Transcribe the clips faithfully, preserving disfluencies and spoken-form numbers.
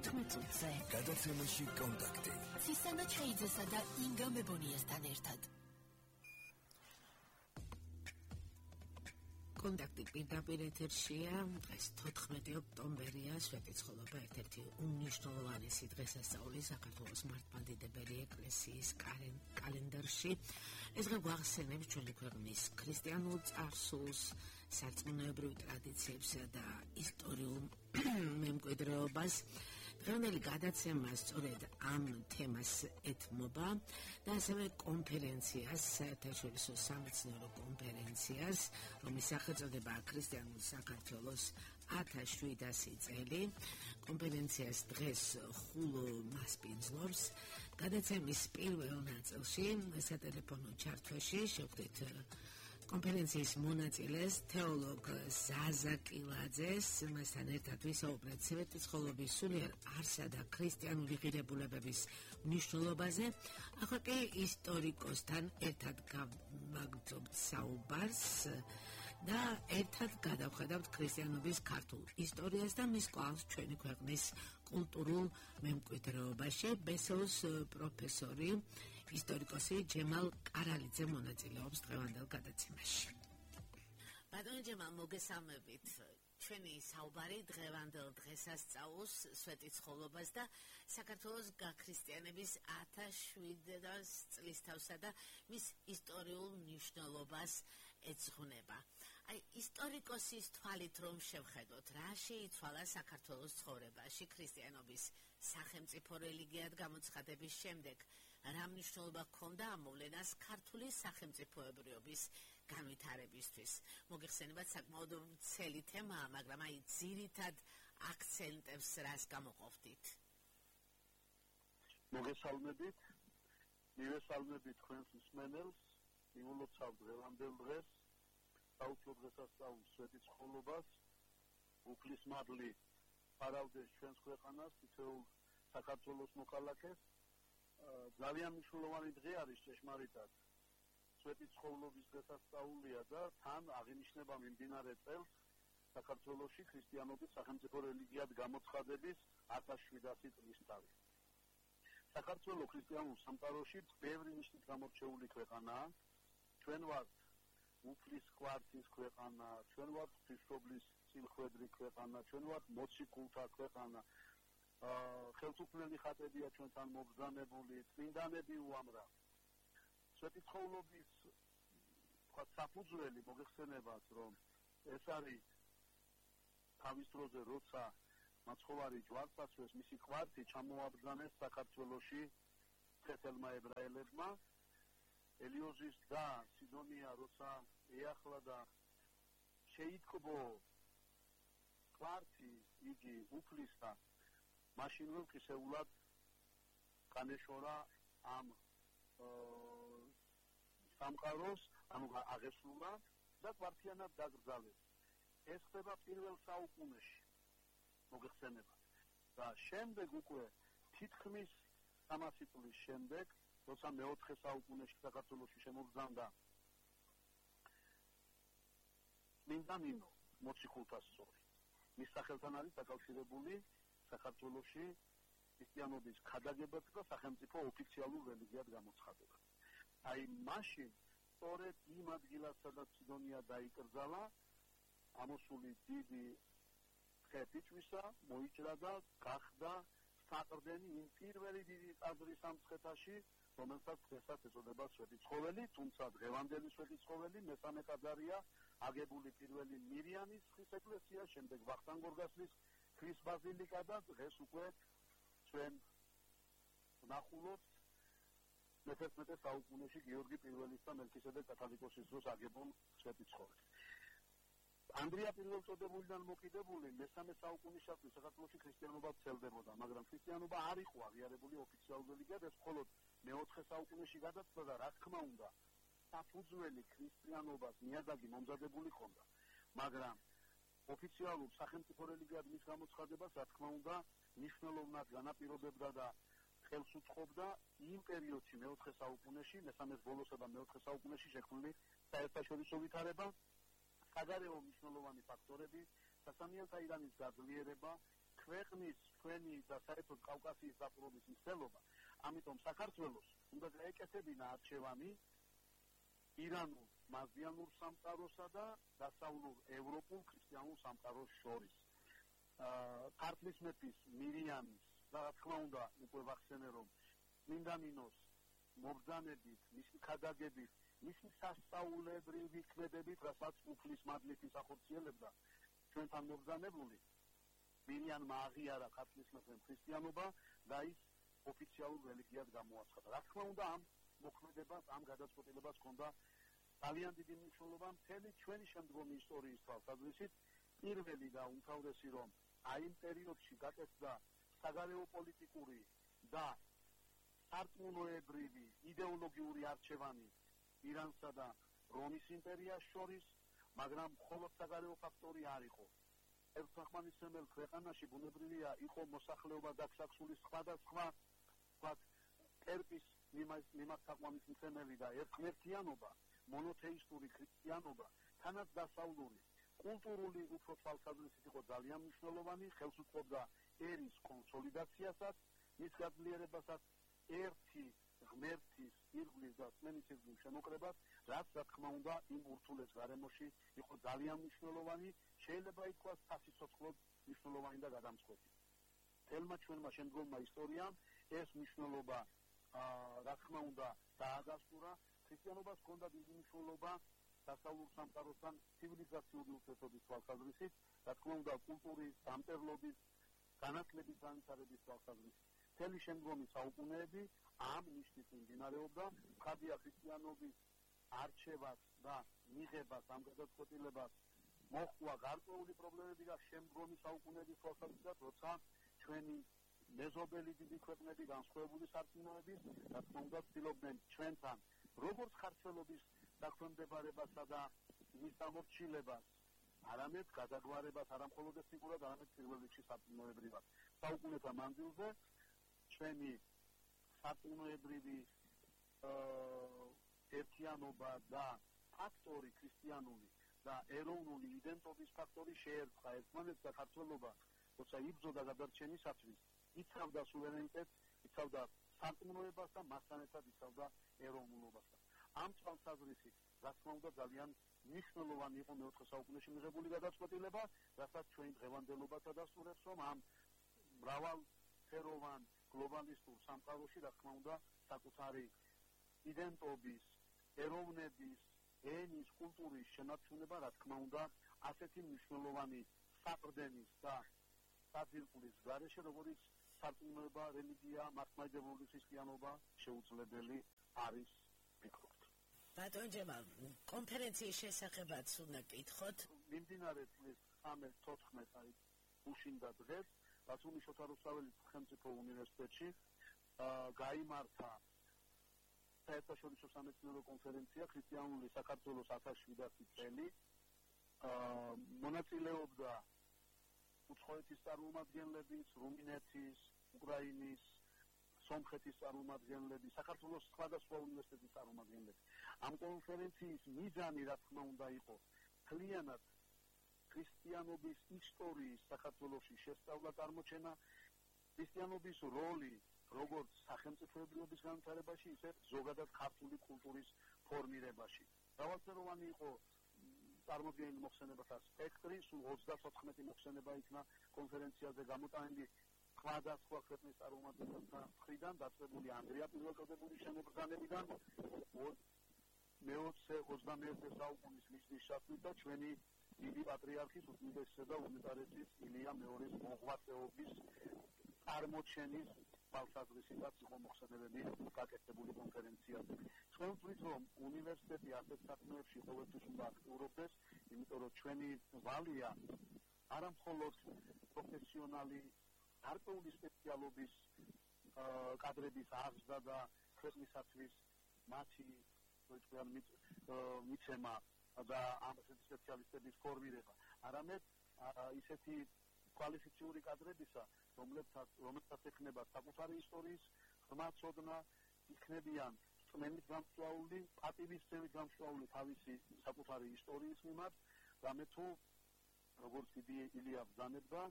თერთმეტ წუთზე. გადაცემაში კონტაქტი. ცისანა ჩაიძესა და ინგა მებონიასთან ერთად. კონტაქტი პირდაპირ ეთერშია. დღეს თოთხმეტი ოქტომბერია, სვეტიცხოველობა ერთ-ერთი უმნიშვნელოვანესი დღესასწაული საქართველოს მართლმადიდებელი ეკლესიის კალენდარში. ეს დღე გვახსენებს ჩვენი ქვეყნის ქრისტიანულ წარსულს, სარწმუნოებრივ ტრადიციებსა და ისტორიულ მემკვიდრეობას. დღევანდელი გადაცემა სწორედ ამ თემას ეთმობა და ასევე კონფერენციას, საერთაშორისო სამეცნიერო კონფერენციას, რომლის სახელწოდებაა ქრისტიანული საქართველოს ათას შვიდასი წელი. კონფერენციას დღეს ხულო მასპინძლობს. გადაცემის პირველ ნაწილში სატელეფონო ჩართვაში შევხვდით კონფერენციის მონაწილეს, თეოლოგ ზაზა კილაძეს, მასთან ერთად ვისაუბრეთ სვეტიცხოვლობის სულიერ არსა და ქრისტიანული ღირებულებების მნიშვნელობაზე. ახლა კი ისტორიკოსთან ერთად გავაგრძობთ საუბარს და ერთად გადავხედავთ ქრისტიანობის ქართულ ისტორიას და მის კვალს ჩვენი ქვეყნის კულტურულ მემკვიდრეობაში. ბესოს პროფესორი ისტორიკოსი ჯემალ კარალიძე მონაწილეობს დღევანდელ გადაცემაში. ბატონო ჯემალ, მოგესალმებით. ჩვენი საუბარი დღევანდელ დღესასწაულს, სვეტიცხოვლობას და საქართველოს გაქრისტიანების ათას შვიდასი წლის თავსა და მის ისტორიულ მნიშვნელობას ეძღვნება. აი, ისტორიკოსის თვალით რომ შევხედოთ, რა შეიცვალა საქართველოს ცხოვრებაში ქრისტიანობის სახელმწიფო რელიგიად გამოცხადების შემდეგ, რა მნიშვნელობა ჰქონდა ამ მოვლენას ქართული სახელმწიფოებრიობის განვითარებისთვის. მოგეხსენებათ, საკმაოდ ვრცელი თემაა, მაგრამ აი ძირითად აქცენტებს რას გამოყოფდით? მოგესალმებით, მივესალმებით თქვენს მსმენელს, იმულოცავ დღევანდელ დღეს, საუფლო დღესასწაულის სვეტიცხოვლობას, უფლის მადლი ფარავდეს ჩვენს ქვეყანას, თითოეულ საქართველოს მოქალაქეს. ძალიან მნიშვნელოვანი დღე არის ჭეშმარიტად. სვეტიცხოვლობის დღესასწაულია და თან აღინიშნება მიმდინარე წელს საქართველოში ქრისტიანობის სახელმწიფო რელიგიად გამოცხადების ათას შვიდასი წლის თავი. საქართველოს ქრისტიანულ სამყაროში ბევრი ნიშნით გამორჩეული ქვეყანაა. ჩვენ ვართ უფლის კვართის ქვეყანა, ჩვენ ვართ ღვთისმშობლის წილხვედრი ქვეყანა, ჩვენ ვართ მოციქულთა ქვეყანა. ხელთუქმნელი ხატებია ჩვენთან მობრძანებული, წმინდანები უამრავ. სვეტიცხოვლობის საფუძველი მოგეხსენებათ, რომ ეს არის თავის დროზე, როცა მაცხოვარი ჯვარცაცვეს მისი კვართი ჩამოაბრძანეს საქართველოში ქეთელმა ებრაელებმა. ელიოზის და სიდონია როცა ეახლა და შეიტკბო კვართი იგი უფლისა, მაშინ რომ ხისეულად განეშორა ამ სამყაროს, ანუ აღესრულა და კვართიანად დაკრძალეს. ეს ხდება პირველ საუკუნეში, მოგეხსენებათ. და შემდეგ უკვე თითქმის სამასი წლის შემდეგ, როცა მეოთხე საუკუნეში საქართველოში შემოგზავნა წმინდა ნინო, მოციქულთა სწორი. მის სახელთან არის დაკავშირებული საქართველოში ქრისტიანობის ქადაგება და სახელმწიფო ოფიციალურ რელიგიად გამოცხადება. აი მაშინ სწორედ იმ ადგილას, სადაც სიდონია დაიკრძალა, ამოსული დიდი ხეთიჩვისა, მოიჭრა და გახდა საყრდენი იმ პირველი დიდი ტაძრის სამცხეთაში, რომელსაც დღესაც ეწოდება სვეტიცხოველი, თუმცა დღევანდელი სვეტიცხოველი მესამე ტაძარია, აგებული პირველი მირიანის ხის ეკლესია, შემდეგ ვახტანგ გორგასლის ქვის ბაზილიკა და დღეს უკვე ჩვენ ვნახულობთ მეთერთმეტე საუკუნეში გიორგი პირველის და მელქისედეკ კათალიკოსის დროს აგებულ სვეტიცხოველს. ანდრია პირველწოდებულიდან მოკიდებული მესამე საუკუნისათვის საქართველოში ქრისტიანობა ვრცელდებოდა, მაგრამ ქრისტიანობა არ იყო აღიარებული ოფიციალურ რელიგიად, ეს მხოლოდ მეოთხე საუკუნეში გადაწყდა და რა თქმა უნდა, საფუძველი ქრისტიანობას ნიადაგი მომზადებული ჰქონდა, მაგრამ ოფიციალურ სახელმწიფო რელიგიად მის გამოცხადებას, რა თქმა უნდა, მნიშვნელოვნად განაპირობებდა და ხელს უწყობდა იმ პერიოდში მეოთხე საუკუნეში, მესამეს ბოლოსა და მეოთხე საუკუნეში შექმნილი საერთაშორისო ვითარება, საგარეო მნიშვნელოვანი ფაქტორები, სასამიანთა ირანის გაძლიერება, ქვეყნის ჩვენი და საერთოდ კავკასიის დაპყრობის მცდელობა. ამიტომ საქართველოს უნდა გაეკეთებინა არჩევანი ირანულ მაზიანურ სამყაროსა და დასავლურ ევროპულ ქრისტიანულ სამყაროს შორის. ქართლის მეფის მირიანის და რა თქმა უნდა უკვე ვახსენე რომ მინდამინოს მობრძანებით, მისი ქადაგებით, მისი სასწაულებრივი ქმედებით, რასაც უფლის მადლითი ახორციელებდა ჩვენთან მობრძანებული მირიანმა აღიარა ქართლის მეფემ ქრისტიანობა და ის ოფიციალურ რელიგიად გამოაცხადა. რა თქმა უნდა ამ მოქმედებას, ამ გადაწყვეტილებას ჰქონდა ძალიან დიდი მნიშვნელობა მთელი ჩვენი შემდგომი ისტორიის თვალსაზრისით. პირველი და უმთავრესი რომ აი იმ პერიოდში გაკეთდა საგარეო პოლიტიკური და სარწმუნოებრივი იდეოლოგიური არჩევანი ირანსა და რომის იმპერიას შორის, მაგრამ მხოლოდ საგარეო ფაქტორი არ იყო. ერთმანეთსემელ ქვეყანაში ბუნებრივია იყო მოსახლეობა დაქსაქსული სხვადასხვა ვთქვათ ერკის მიმართაყვანისმცემელი და ერთმერქიანობა, მონოთეისტური ქრისტიანობა, თანაც დასავლური კულტურული უფრო თვალსაზრისით იყო ძალიან მნიშვნელოვანი, ხელს უწყობდა ერის კონსოლიდაციასაც, მის გაძლიერებასაც, ერთი ღმერთის ირგვლის და სმენის ირგვლის შემოკრებას, რაც რა თქმა უნდა იმ ურთულეს გარემოში იყო ძალიან მნიშვნელოვანი, შეიძლება ითქვას სასიცოცხლოდ მნიშვნელოვანი და გადამწყვეტი. თელმა ჩვენმა შემდგომმა ისტორიამ ეს მნიშვნელობა რა თქმა უნდა დაადასტურა. ქრისტიანობას ჰქონდა დიდი მნიშვნელობა დასავლურ სამყაროსთან ცივილიზაციური ურთიერთობის თვალსაზრისით, რა თქმა უნდა კულტურის, დამწერლობის, განათლების განვითარების თვალსაზრისით. მთელი შემდგომი საუკუნეები ამ ნიშნით მიმდინარეობდა. ხადია ქრისტიანობის არჩევას და მიღებას, ამ გადაწყვეტილებას მოჰყვა გარკვეული პრობლემები და შემდგომი საუკუნეების თვალსაზრისით, როცა ჩვენი მეზობელი დიდი ქვეყნები განსხვავებული სარწმუნოების, რა თქმა უნდა, ცდილობდნენ ჩვენთან როგორც ქართველობის დაქვემდებარებასა და მის დამორჩილებას, არამედ გადაგვარებას, არა მხოლოდ ეს ფიგურად, არამედ პირველ რიგში სარწმუნოებრივად. საუკუნეთა მანძილზე ჩვენი სარწმუნოებრივი ერთიანობა და ფაქტორი ქრისტიანული და ეროვნული იდენტობის ფაქტორი შეერწყა ერთმანეთს და ქართველობა, როცა იბრძოდა გადარჩენისათვის, იცავდა სუვერენიტეტს, იცავდა სარწმუნოებას და მასთან ერთად იცავდა ეროვნულობასაც. ამ თვალსაზრისით, რა თქმა უნდა, ძალიან მნიშვნელოვანი იყო მეოთხე საუკუნეში მიღებული გადაწყვეტილება, რასაც ჩვენი დღევანდელობა ადასტურებს, რომ ამ მრავალფეროვან გლობალისტურ სამყაროში, რა თქმა უნდა, საკუთარი იდენტობის, ეროვნების, ენის, კულტურის შენარჩუნება, რა თქმა უნდა, ასეთი მნიშვნელოვანი საყრდენის და საძირკვლის გარეშე, როგორც სარწმუნოება, რელიგია, მართლმადიდებლური ქრისტიანობა შეუძლებელი არის, ვფიქრობ. ბატონ ჯემალ, კონფერენციის შესახებაც უნდა კითხოთ. მიმდინარე წლის ცხრამეტ-თოთხმეტ აი უშინდა დღეს ბათუმის შოთა რუსთაველის სახელმწიფო უნივერსიტეტში გაიმართა საერთაშორისო სამეცნიერო კონფერენცია ქრისტიანული საქართველოს ათას შვიდასი წელი. მონაწილეობდა უცხოეთის წარმომადგენლების, რუმინეთის, უკრაინის, სომხეთის წარმომადგენლები, საქართველოს სხვადასხვა უნივერსიტეტის წარმომადგენლები. ამ კონფერენციის მიზანი, რა თქმა უნდა, იყო მთლიანად ქრისტიანობის ისტორიის საქართველოში შესწავლა, წარმოჩენა, ქრისტიანობის როლი როგორც სახელმწიფოებრიობის განვითარებაში, ისე ზოგადად ქართული კულტურის ფორმირებაში. მრავალფეროვანი იყო წარმოდგენილი მოხსენებათა სპექტრი, სულ ოცდათოთხმეტი მოხსენება იქნა კონფერენციაზე გამოტანილი სხვადასხვა ქვეყნის წარმომადგენელთა მხრიდან, დაწყებული ანგლია პირველწოდებული შემოგზანებიდან, მეოცე ოცდამეერთე საუკუნის მისლის ჩათვლით და ჩვენი დიდი პატრიარქის უდიდესისა და უნიტარეთის ილია მეორის მოღვაწეობის წარმოჩენის თვალსაზრისითაც იყო მოხსენებები გაკეთებული კონფერენციაზე. ჩვენ ვთვლით, რომ უნივერსიტეტი ასეთ საქმეებში ყოველთვის უნდა აქტიურობდეს, იმიტომ რომ ჩვენი ვალია არა მხოლოდ პროფესიონალი გარკვეული სპეციალობის კადრების აღზრდა და ქვეყნისათვის მათი მიცემა და ამ სპეციალისტების ფორმირება, არამედ ისეთი კვალიფიციური კადრებისა, რომლებსაც რომელსაც ექნება საკუთარი ისტორიის ღრმაცოდნა, იქნებიან წმენით გამსვლაული, პატივისცემით გამსვლაული თავისი საკუთარი ისტორიის მიმართ, რამე თუ როგორც დიდი ილია ბრძანებდა,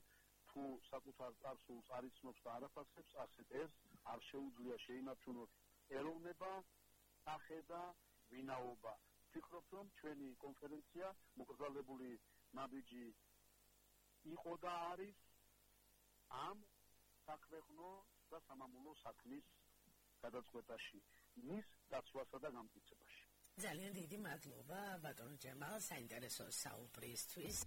თუ საკუთარ წარსულს არ იცნობს და არ აფასებს, ასეთ ეს არ შეუძლია შეინარჩუნოს ეროვნება, სახე და ვინაობა. ვფიქრობ, რომ ჩვენი კონფერენცია მოკრძალებული ნაბიჯი იყო და არის ამ საქვეყნო და სამამულო საქმის გადაწყვეტაში, მის დაცვასა და გამტკიცებაში. ძალიან დიდი მადლობა ბატონო ჯემალ საინტერესო საუბრისთვის.